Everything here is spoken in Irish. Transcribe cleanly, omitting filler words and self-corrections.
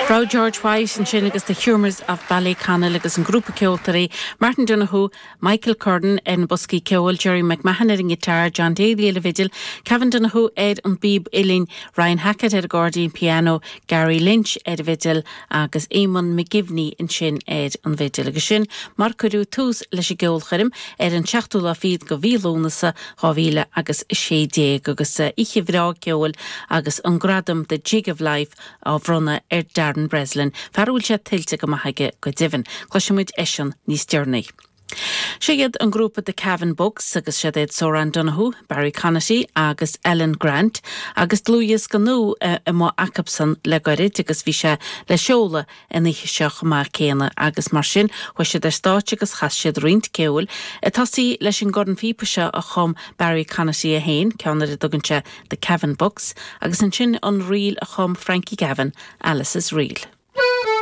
Raibh George White ansin agus The Humours of Ballyconnell agus an grúpa ceoltóirí, Martin Donohoe, Michael Curran ar na boscaí ceoil, Gerry McMahon ar an ngiotár, John Daly ar an bhfidil, Kevin Donohoe ar an bpíb uilleann, Ryan Hackett ar an gcairdín pianó, Gary Lynch ar an bhfidil agus Eamonn McGivney ansin ar an bhfidil. Agus sin mar cuireadh tús leis an gceolchoirm ar an seachtú lá fichead de mhí Lúnasa 2000 agus 16 agus oíche bhreá ceoil agus an gradam The Jig of Life á bhronnadh ar Darren Breslin, fear a bhfuil sé tuillte go maith aige go deimhin. Cloisfidh muid eisean níos deireanaí. Seo iad an grúpa The Cavan Books agus siad iad Soran Donohoe, Barry Conaty agus Ellen Grant agus dlúthdhiosca nua amuigh acubsan le goirid agus bhí sé le seoladh an oíche seo chomh maith céanna agus mar sin chuaigh siad ar stáitse agus chas siad roinnt ceoil, ag tosaí leis an gcornphíopa seo a chum Barry Conaty é féin, ceann ar a dtugann sé The Cavan Bucks, agus ansin an ríl a chum Frankie Gavin, Alice's Reel.